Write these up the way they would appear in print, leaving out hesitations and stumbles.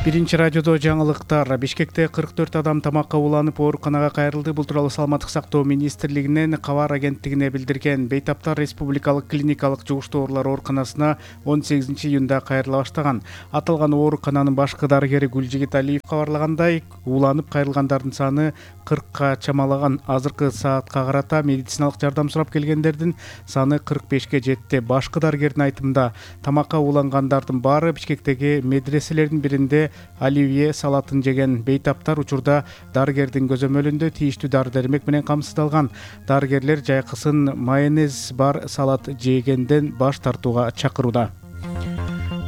Биринчи радиодо жаңылыктар. Бишкекте 44 адам тамакка уланып ооруканага кайрылды. Бул тууралуу Саламаттык сактоо министрлигинен кабар агенттигине билдирген. Бейтаптар республикалык клиникалык жугуштуу оорулар ооруканасына 18-июнда кайрыла баштаган. Аталган оорукананын башкы дарыгери Гүлжигит Алиев кабарлагандай, уланып кайрылгандардын саны 40ка чамалаган. Азыркы саатка карата медициналык жардам сурап келгендердин саны 45ке жетти. Башкы дарыгердин айтымында, тамакка улангандардын баары Бишкектеги медреселердин биринде оливье салатын жеген. Бейтаптар учурда дарыгердин көзөмөлүндө тийиштүү дары-дармек менен камсыздалган. Дарыгерлер жайкысын майонез бар салат жегенден баш тартууга чакырууда.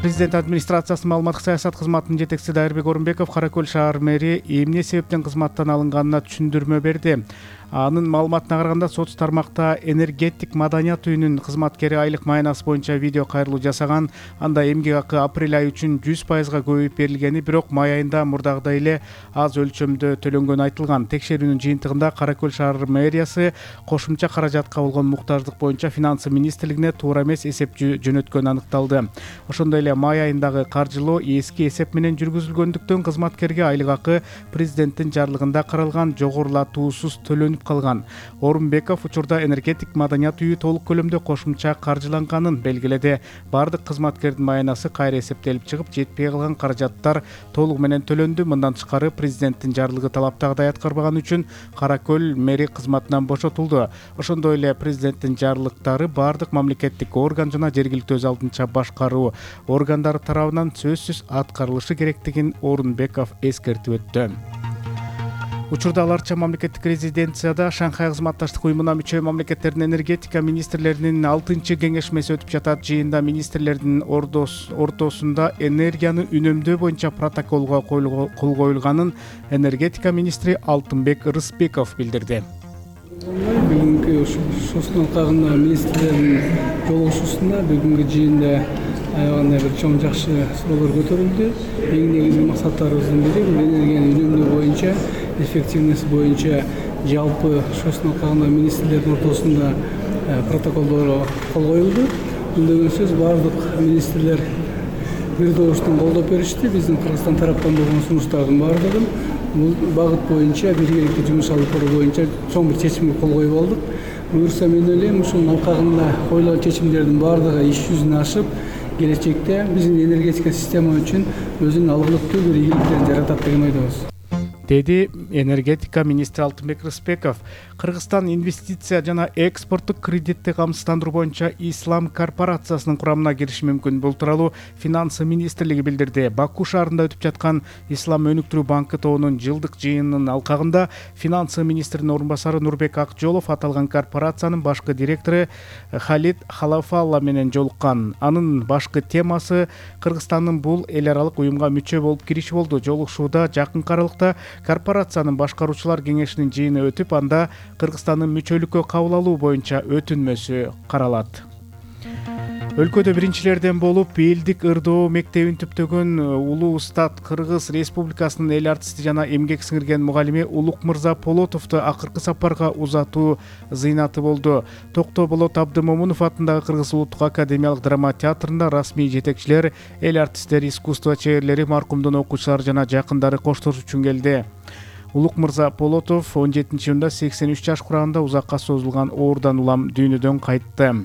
Президент администрациясынын маалыматтык саясат кызматынын жетекчиси Дайырбек Орунбеков Кара Көл шаар мэри эмне себептен кызматтан алынганына түшүндүрмө берди. Анын маалыматына караганда, соц тармакта энергетик маданият үйүнүн кызматкери айлык маянасы боюнча видео кайрылуу жасаган. Анда эмгек акы апрель айы үчүн 100%га көбөйүп берилгени, бирок май айында мурдагыдай эле аз өлчөмдө төлөнгөнү айтылган. Текшерүүнүн жыйынтыгында Кара Көл шаар мэриясы кошумча каражатка болгон муктаждык боюнча финансы министрлигине туура эмес эсеп жөнөткөнү аныкталды. Ошондой эле май айындагы каржылоо эски эсеп менен жүргүзүлгөндүктөн кызматкерге айлык акы президенттин жарлыгында каралган жогорулатуусуз төлөнүп калган. Орунбеков учурда энергетик маданият үйү толук көлөмдө кошумча каржыланганын белгиледи. Бардык кызматкердин маянасы кайра эсептелип чыгып, жетпей калган каражаттар толук менен төлөндү. Мындан тышкары президенттин жарлыгы талаптагыдай аткарбаганы үчүн Кара Көл мэри кызматынан бошотулду. Ошондой эле президенттин жарлыктары бардык мамлекеттик орган жана жергиликтүү өз алдынча башкаруу органдары тарабынан сөзсүз аткарылышы керектигин Орунбеков эскертип өттү. Учурда аларча мамлекеттик резиденцияда Шанхай кызматташтык уюмуна мүчө мамлекеттердин энергетика министрлеринин 6-кеңешмеси өтүп жатат. Жыйында министрлердин ортосунда энергияны үнөмдөө боюнча протоколго кол коюлганын энергетика министри Алтынбек Рыспеков билдирди. Бүгүнкү соцун алкагында министрлердин жолугушуусунда бүгүнкү жыйында аябагандай бир чоң жакшы суроолор көтөрүлдү. Эң негизги максаттарыбыздын бири бул энергияны үнөмдөө боюнча, эффективность боюнча жалпы соцун алкагында министрлердин ортосунда протоколдорго кол коюлду. Бул деген сөз бардык министрлер бир добуштан колдоп беришти. Биздин Кыргызстан тараптан болгон сунуштардын бардыгын бул багыт боюнча биргеликте жумуш алып баруу боюнча чоң бир чечимге кол коюп алдык. Буюрса мен ойлойм, ушунун алкагында коюлган чечимдердин бардыгы иш жүзүнө ашып, келечекте биздин энергетика система үчүн өзүнүн алгылыктуу бир ийгиликтерин жаратат деген ойдобуз, деди энергетика министри Алтынбек Рыспеков. Кыргызстан инвестиция жана экспорттук кредитти камсыздандыруу боюнча Ислам корпорациясынын курамына кириши мүмкүн. Бул тууралуу финансы министрлиги билдирди. Баку шаарында өтүп жаткан Ислам өнүктүрүү банкы тобунун жылдык жыйынынын алкагында финансы министринин орун басары Нурбек Акжолов аталган корпорациянын башкы директору Халид Халафалла менен жолуккан. Анын башкы темасы Кыргызстандын бул эл аралык уюмга мүчө болуп кириши болду. Жолугушууда жакынкы аралыкта корпорациянын башкаруучулар кеңешинин жыйыны өтүп, анда Кыргызстандын мүчөлүккө кабыл алуу боюнча өтүнмөсү каралат. Өлкөдө биринчилерден болуп элдик ырдоо мектебин түптөгөн улуу устат Кыргыз Республикасынын эл артисти жана эмгек сиңирген мугалими Улукмырза Полотовду акыркы сапарга узатуу зыйнаты болду. Токто Болот Абдымомунов атындагы Кыргыз Улуттук академиялык драма театрында расмий жетекчилер, эл артисттери, искусство чеберлери, маркумдун окуучулары жана жакындары коштош үчүн келди. Улукмырза Полотов 17-июнда 83 жаш курамында узакка созулган оорудан улам дүйнөдөн кайтты.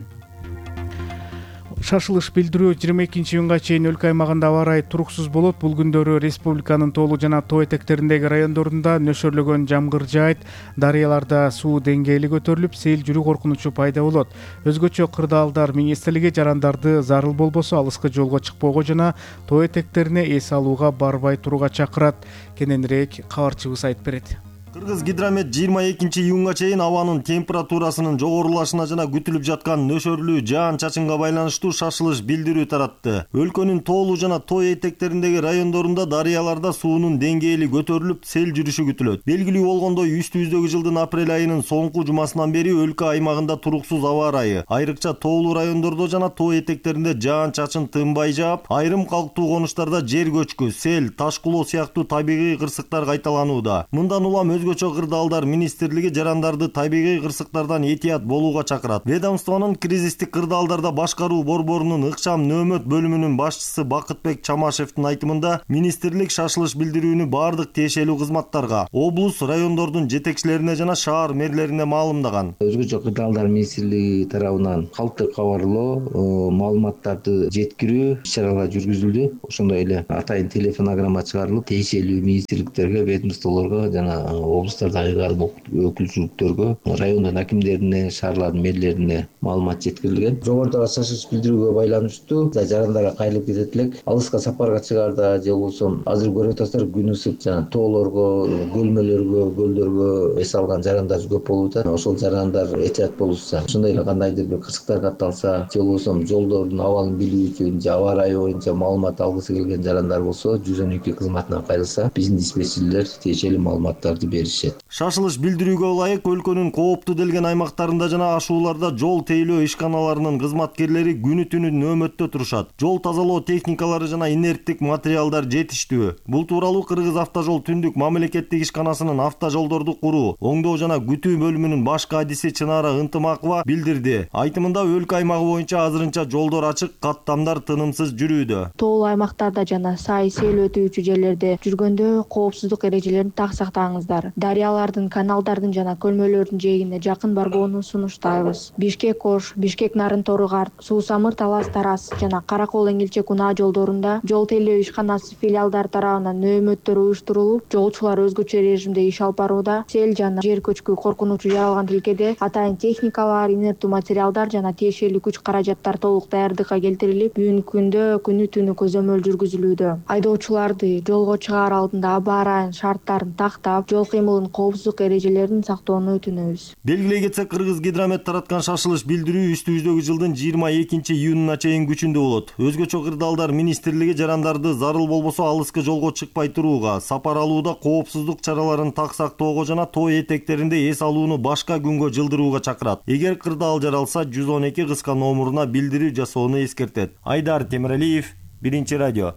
Шашылыш билдирүү 22-июнга чейин өлкө аймагында аба ырайы туруксуз болот. Бул күндөрү республиканын тоолуу жана тоо этектериндеги райондорунда нөшөрлөгөн жамгыр жаайт, дарыяларда суу деңгээли көтөрүлүп, сел жүрүү коркунучу пайда болот. Өзгөчө кырдаалдар министрлиги жарандарды зарыл болбосо алыскы жолго чыкпоого жана тоо этектерине эс алууга барбай турууга чакырат. Кененирээк кабарчыбыз айтып берет. Кыргыз гидромет 22-июнга чейин абанын температурасынын жогорулашына жана күтүлүп жаткан нөшөрлүү жаан-чачынга байланыштуу шашылыш билдирүү таратты. Өлкөнүн тоолуу жана тоо этектериндеги райондорунда дарыяларда суунун деңгээли көтөрүлүп, сел жүрүшү күтүлөт. Белгилүү болгондой, үстүбүздөгү жылдын апрель айынын соңку жумасынан бери өлкө аймагында туруксуз аба ырайы, айрыкча тоолуу райондордо жана тоо этектеринде жаан-чачын тынбай жаап, айрым калктуу конуштарда жер көчкү, сел, таш кулоо сыяктуу табигый кырсыктар кайталанууда. Мындан улам Өзгөчө кырдаалдар министрлиги жарандарды табигый кырсыктардан этият болууга чакырат. Ведомствонун кризистик кырдаалдарда башкаруу борборунун ыкчам нөөмөт бөлүмүнүн башчысы Бакытбек Чамашевдин айтымында, министрлик шашылыш билдирүүнү бардык тиешелүү кызматтарга, облус, райондордун жетекчилерине жана шаар мэрлерине маалымдаган. Өзгөчө кырдаалдар министрлиги тарабынан калктык кабарлоо, маалыматтарды жеткирүү иш-чаралары жүргүзүлдү. Ошондой эле атайын телефонограмма чыгарылып, тиешелүү министрликтерге, ведомстволорго жана облустардагы айor өкүлчүлүктөргө, райондун акимдерине, шаарлардын мэрлерине маалымат жеткирилген. Жогорудагы шашылыш билдирүүгө байланыштуу жарандарга кайрылып кетет элек. Алыска сапарга чыгаарда же болбосо азыр көрүп атасыздар, күн ысык, жана тоолорго, көлмөлөргө, көлдөргө эс алган жарандар көп болуп атат. Ошол жарандар этият болушса, ошондой эле кандайдыр бир кырсыктар катталса, же болбосо жолдордун абалын билүү үчүн же аба ырайы боюнча маалымат алгысы келген жарандар болсо, 112 кызматына кайрылса, биздин диспетчерлер тиешелүү маалыматтарды беришет. Шашылыш билдирүүгө ылайык өлкөнүн кооптуу делген аймактарында жана ашууларда жол тейлөө ишканаларынын кызматкерлери күнү түнү нөөмөттө турушат. Жол тазалоо техникалары жана инерттик материалдар жетиштүү. Бул тууралуу Кыргыз автожол түндүк мамлекеттик ишканасынын автожолдорду куруу, оңдоо жана күтүү бөлүмүнүн баш кадиси Чынара Ынтымакова билдирди. Айтымында өлкө аймагы боюнча азырынча жолдор ачык, каттамдар тынымсыз жүрүүдө. Тоолуу аймактарда жана сай сел өтүүчү жерлерде жүргөндө коопсуздук эрежелерин так сактаңыздар. Дарыялардын, каналдардын жана көлмөлөрдүн жээгине жакын барбоону сунуштайбыз. Бишкек-Ош, Бишкек-Нарын-Торугар, Суу-Самыр-Талас-Тарас жана Каракол-Эңилче-Кунаа жолдорунда жол тейлөө ишканасы филиалдар тарабынан нөөмөттөр уюштурулуп, жолчулар өзгөчө режимде иш алып барууда. Сел жана жер көчкү коркунучу жаралган тилкеде атайын техникалар, инерттүү материалдар жана тиешелүү күч каражаттар толук даярдыкка келтирилип, бүгүнкү күндө күнү түнү көзөмөл жүргүзүлүүдө. Айдоочуларды жолго чыгаар алдында аба ырайын шарттарын тактап, жол кыймылынын коопсуздук эрежелерин сактоону өтүнөбүз. Белгилей кетсек, Кыргыз Гидромет тараткан шашылыш билдирүү үстүбүздөгү жылдын 22-июнуна чейин күчүндө болот. Өзгөчө кырдаалдар министрлиги жарандарды зарыл болбосо алыска жолго чыкпай турууга, сапар алууда коопсуздук чараларын так сактоого жана тоо этектеринде эс алууну башка күнгө жылдырууга чакырат. Эгер кырдаал жаралса, 112 кыска номуруна билдирүү жасоону эскертет. Айдар Темиралиев, Биринчи радио.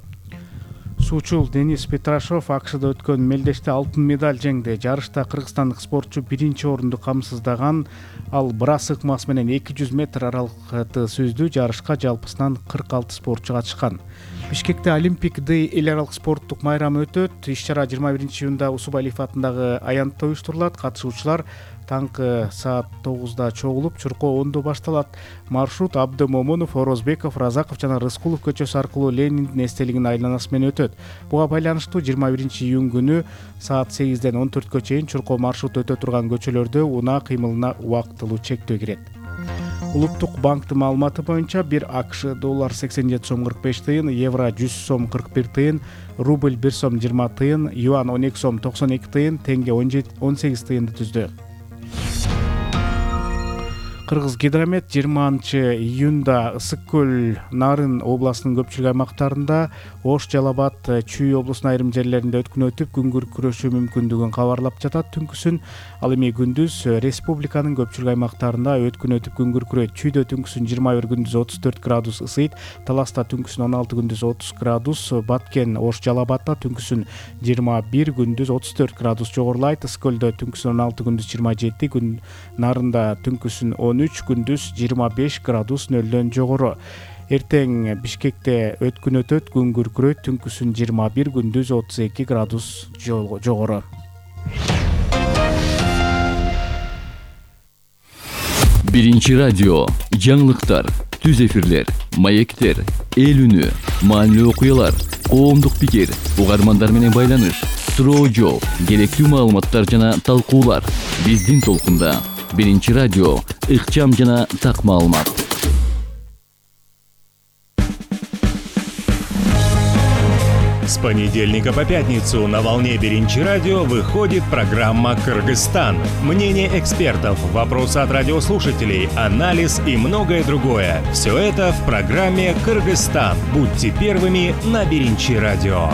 Суучул Денис Петрашов АКШда өткөн мелдеште алтын медаль жеңди. Жарышта кыргызстандык спортчу биринчи орунду камсыздаган. Ал брас ыкмасы менен 200 метр аралыкты сүздү. Жарышка жалпысынан 46 спортчу катышкан. Бишкекте Олимпик Дэй эл аралык спорттук майрамы өтөт. Иш-чара 21-июнда Усубалиев атындагы аянтта уюштурулат. Катышуучулар таңкы саат 9-да чогулуп, чуркоо 10-да башталат. Маршрут Абды Момунов, Орозбеков, Разаков жана Рыскулов көчөсү аркылуу Лениндин эстелигинин айланасы менен өтөт. Буга байланыштуу 21-июнь күнү саат 8-ден 14-кө чейин чуркоо маршрут өтө турган көчөлөрдө унаа кыймылына убактылуу чектөө кирет. Улуттук банктын маалыматы боюнча бир АКШ доллар 87 сом 45 тыйын, евро 100 сом 41 тыйын, рубль 1 сом 20 тыйын, юан 12 сом 92 тыйын, тенге 18 тыйынды түздү. Кыргыз Гидромет 20-июнда Ысык көл, Нарын областынын көпчүлүк аймактарында, Ош, Жалал-Абад, Чүй облусунун айрым жерлеринде өткүн өтүп, күн күрөшүү мүмкүндүгүн кабарлап жатат. Түнкүсүн ал эми күндүз республиканын көпчүлүк аймактарында өткүн өтүп, күн күрөйт. Чүйдө түнкүсүн 21 күндүз 34 градус ысыйт, Таласта түнкүсүн 16 күндүз 30 градус, Баткен, Ош, Жалал-Абадта түнкүсүн 21 күндүз 34 градус жогорулайт. Ысык көлдө түнкүсүн 16 күндүз 27, күн Нарында түнкүсүн 13 күндүз 25 градус нөлдөн жогору. Эртең Бишкекте өткүн өтөт, күн күркүрөйт, түнкүсүн 21 күндүз 32 градус жогору. Биринчи радио, жаңылыктар, түз эфирлер, маектер, эл үнү, маанилүү окуялар, коомдук пикир, угармандар менен байланыш, суроо жооп, керектүү маалыматтар жана талкуулар. Биздин толкунда Биринчи радио, ыкчам жана так маалымат. С понедельника по пятницу на волне Биринчи радио выходит программа «Кыргызстан». Мнение экспертов, вопросы от радиослушателей, анализ и многое другое. Все это в программе «Кыргызстан». Будьте первыми на Биринчи радио.